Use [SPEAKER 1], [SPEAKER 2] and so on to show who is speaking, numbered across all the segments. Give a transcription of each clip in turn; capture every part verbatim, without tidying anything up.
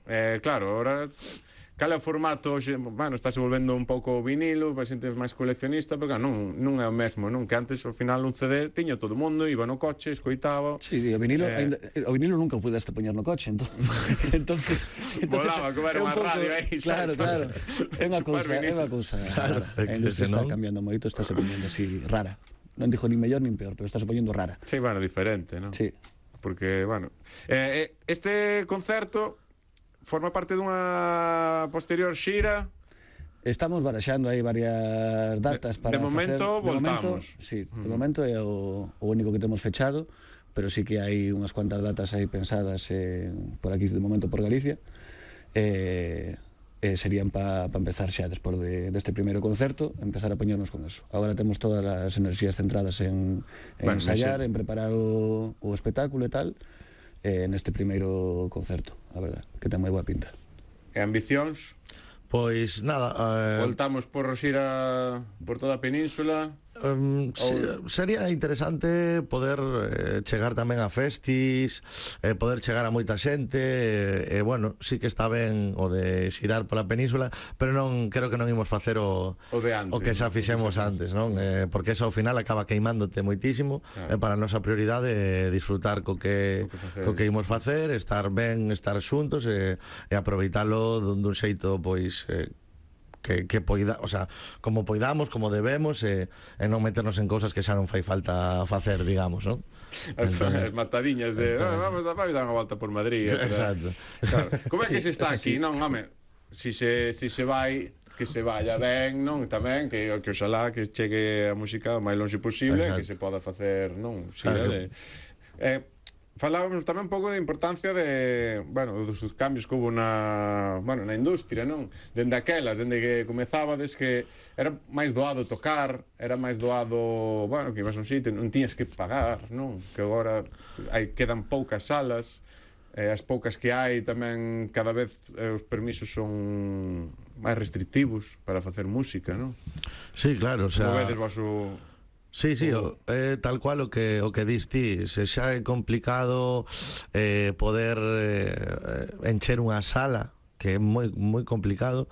[SPEAKER 1] Eh, claro, ahora... Cal é o formato hoxe? Bueno, estáse volvendo un pouco o vinilo, para xente máis coleccionista, pero claro, non, non é o mesmo, non? Que antes, ao final, un C D tiña todo o mundo, iba no coche, escoitaba...
[SPEAKER 2] Sí, o vinilo,
[SPEAKER 1] eh...
[SPEAKER 2] ainda, o vinilo nunca o pudeste poñer no coche, entón, entonces, entonces
[SPEAKER 1] volaba, como era unha radio aí,
[SPEAKER 2] claro, claro, é unha cousa, é unha cousa
[SPEAKER 3] claro,
[SPEAKER 2] rara, a industria está cambiando moito, está se poñendo así rara, non dixo ni mellor nin peor, pero está se poñendo rara.
[SPEAKER 1] Sí, bueno, diferente, non?
[SPEAKER 2] Sí.
[SPEAKER 1] Porque, bueno, eh, este concerto forma parte dunha posterior xira.
[SPEAKER 2] Estamos baraxando aí varias datas
[SPEAKER 1] de,
[SPEAKER 2] para
[SPEAKER 1] de momento
[SPEAKER 2] facer,
[SPEAKER 1] voltamos.
[SPEAKER 2] De momento, sí, de
[SPEAKER 1] mm.
[SPEAKER 2] momento é o, o único que temos fechado, pero sí que hai unhas cuantas datas aí pensadas eh, por aquí de momento por Galicia. Eh, eh, serían para pa empezar xa despois de, deste primeiro concerto, empezar a poñernos con eso. Agora temos todas as enerxías centradas en, en bueno, ensayar, ese... en preparar o, o espectáculo e tal, eh, neste primeiro concerto, a verdad, que ten moi boa pinta.
[SPEAKER 1] E ambicións?
[SPEAKER 3] Pois nada, eh...
[SPEAKER 1] voltamos por xira por toda a península.
[SPEAKER 3] Um, se, sería interesante poder eh, chegar tamén a festis, eh, poder chegar a moita xente, e eh, eh, bueno, sí que está ben o de xirar pola península, pero non creo que non imos facer o,
[SPEAKER 1] o, de antes,
[SPEAKER 3] o que xa fixemos antes, non? Eh, porque eso ao final acaba queimándote moitísimo, claro. eh, para a nosa prioridade é disfrutar co que, co que imos facer, estar ben, estar xuntos e, e aproveitalo dun, dun xeito, pois... Eh, Que, que poida, o sea, como poidamos, como debemos, e, e non meternos en cousas que xa non fai falta facer, digamos, non?
[SPEAKER 1] As matadiñas de entonces, oh, vamos a dar unha volta por Madrid.
[SPEAKER 3] Exacto.
[SPEAKER 1] Claro. Como é que se está aquí, non, home? Si se, si se vai, que se vaya ben, non? Tamén, que, que oxalá que chegue a música o máis longe posible, que se poda facer, non? Si, claro. de, eh, falábamos tamén un pouco de importancia de, bueno, dos cambios que hubo na, bueno, na industria, non? Dende aquelas, dende que comezabades, que era máis doado tocar, era máis doado, bueno, que ibas a un sitio, non tiñas que pagar, non? Que agora hai, quedan poucas salas, eh, as poucas que hai tamén cada vez eh, os permisos son máis restrictivos para facer música, non?
[SPEAKER 3] Sí, claro, o sea...
[SPEAKER 1] Como vedes vos o...
[SPEAKER 3] Sí, sí, o, eh, tal cual o que o que dis ti, se xa é complicado eh, poder eh, encher unha sala, que é moi moi complicado,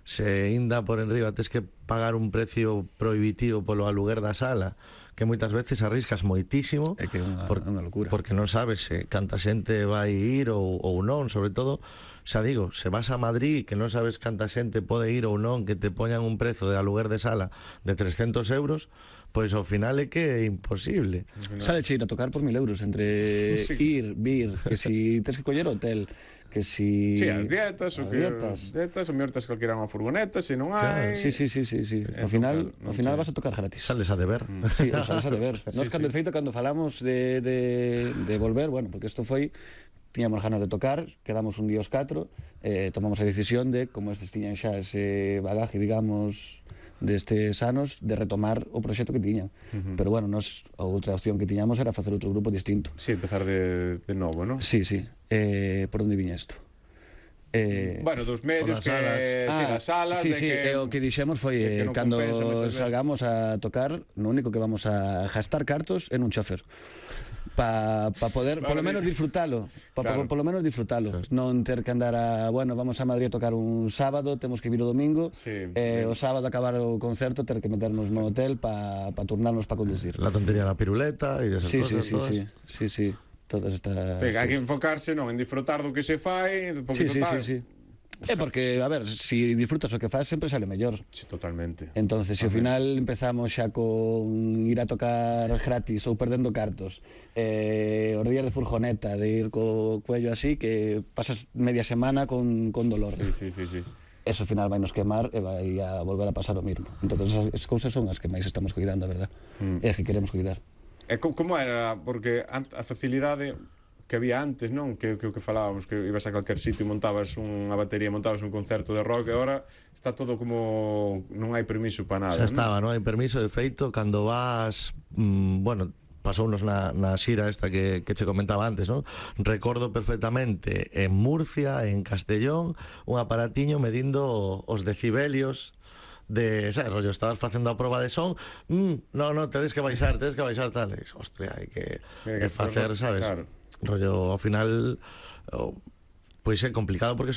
[SPEAKER 3] se inda por enriba tes que pagar un precio prohibitivo polo aluguer da sala, que moitas veces arriscas moitísimo,
[SPEAKER 2] é que é unha,
[SPEAKER 3] por,
[SPEAKER 2] unha locura,
[SPEAKER 3] porque non sabes se canta xente vai ir ou, ou non, sobre todo, xa digo, se vas a Madrid que non sabes canta xente pode ir ou non, que te poñan un prezo de aluguer de sala de trescentos euros, pois ao final é que é imposible.
[SPEAKER 2] Sale che ir a tocar por mil euros entre sí. ir, vir, que si tes que coller hotel, que si...
[SPEAKER 1] Sí, as dietas, o que...
[SPEAKER 2] dietas,
[SPEAKER 1] dietas o mellor tes que alquilar unha furgoneta, se non hai...
[SPEAKER 2] Claro, sí, sí, sí, sí, sí. Ao final, ao final vas a tocar gratis.
[SPEAKER 3] Sales a deber.
[SPEAKER 2] Mm. Sí, sales a deber.
[SPEAKER 1] Sí,
[SPEAKER 2] Nos, cando,
[SPEAKER 1] sí.
[SPEAKER 2] de feito, cando falamos de, de, de volver, bueno, porque isto foi... Tiñamos ganas de tocar, quedamos un día os catro, eh, tomamos a decisión de, como estes tiñan xa ese bagaje, digamos, destes anos, de retomar o proxecto que tiñan. Uh-huh. Pero, bueno, nos, a outra opción que tiñamos era facer outro grupo distinto.
[SPEAKER 1] Sí, empezar de, de novo, non?
[SPEAKER 2] Sí, sí. Eh, por onde viña isto?
[SPEAKER 1] Eh, bueno, dos medios que...
[SPEAKER 3] salas.
[SPEAKER 1] Ah, sí, das salas...
[SPEAKER 2] Sí,
[SPEAKER 1] de
[SPEAKER 2] sí,
[SPEAKER 1] que,
[SPEAKER 2] e o que dixemos foi, eh,
[SPEAKER 1] no
[SPEAKER 2] cando
[SPEAKER 1] compensa,
[SPEAKER 2] salgamos a tocar, no único que vamos a gastar cartos en un chofer. Pa, pa poder, polo menos disfrutalo, pa, claro. Polo menos disfrutalo, claro. Non ter que andar a, bueno, vamos a Madrid a tocar un sábado, temos que vir o domingo,
[SPEAKER 1] sí,
[SPEAKER 2] eh,
[SPEAKER 1] sí.
[SPEAKER 2] o sábado acabar o concerto, ter que meternos no hotel pa, pa turnarnos pa conducir.
[SPEAKER 3] La tontería da piruleta e desas
[SPEAKER 2] sí,
[SPEAKER 3] cosas.
[SPEAKER 2] Sí, sí, sí, sí, sí, todas estas...
[SPEAKER 1] Sí, hai que enfocarse, non, en disfrutar do que se fai, porque
[SPEAKER 2] sí,
[SPEAKER 1] total...
[SPEAKER 2] Sí, sí, sí. É porque, a ver, si disfrutas o que faz sempre sale mellor.
[SPEAKER 1] Sí, totalmente.
[SPEAKER 2] Entonces, se ao final empezamos xa con ir a tocar gratis ou perdendo cartos, eh, os días de furgoneta, de ir co cuello así, que pasas media semana con, con dolor.
[SPEAKER 1] Sí, sí, sí, sí.
[SPEAKER 2] Eso ao final vai nos quemar e vai a volver a pasar o mismo. Entonces, as cousas son as que máis estamos cuidando, a verdad? Mm. É as que queremos cuidar.
[SPEAKER 1] E como era? Porque a facilidade que había antes, non? Que o que, que falábamos, que ibas a calquer sitio e montabas unha batería, montabas un concerto de rock, e agora está todo como... non hai permiso para nada,
[SPEAKER 3] xa estaba, non?
[SPEAKER 1] non
[SPEAKER 3] hai permiso, de feito, cando vas, mmm, bueno, pasounos na, na xira esta que, que che comentaba antes, non? Recordo perfectamente en Murcia, en Castellón, un aparatiño medindo os decibelios de, sabes, rollo, estabas facendo a proba de son, mm, no, no, tedes que baixar, tedes que baixar tal, e dices, hostia, hai que, que facer, sabes?
[SPEAKER 1] Claro.
[SPEAKER 3] Rollo, ao final, pois é complicado porque son